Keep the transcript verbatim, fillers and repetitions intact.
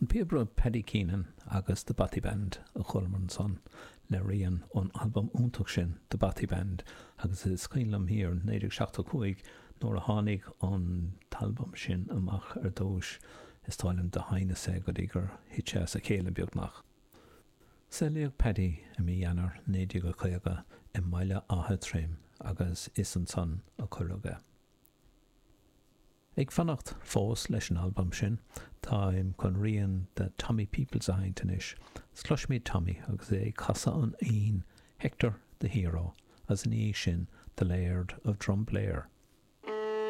An píobaire Paddy Keenan agus The Bothy Band a chualamar ansan le rian ón albam iontach sin The Bothy Band agus is cuimhin liom thiar naoi déag seachtó cúig nuair a tháinig an t-albam sin amach ar dtúis is dóigh liom do sheinneas é go dtí gur thit sé as a chéile beagnach. Saolaíodh Paddy i mí Eanáir naoi déag a caoga i mBaile Átha Troim agus is ansan a cuireadh é. Ag fanacht fós leis an albam sin, táim chun rian de Tommy Peoples a sheinnt anois. Cloisfimid Tommy agus é ag casadh an fhoinn Hector the Hero agus ina dhiaidh sin The Laird of Drumblair.